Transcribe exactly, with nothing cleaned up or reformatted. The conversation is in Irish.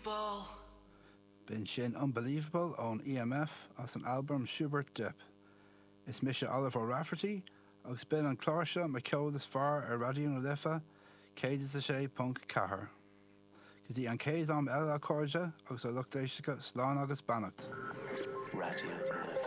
Unbelievable. B'in sin Unbelievable ón EMF as an albam Schubert Dip. Is mise Oliver Rafferty agus b'in an clár seo mo ceol is fearr ar Raidió na Life céad is a sé ponc ceathair. Go dtí an chéad am eile a chairde agus a lucht éisteachta slán agus beannacht. Raidió na Life.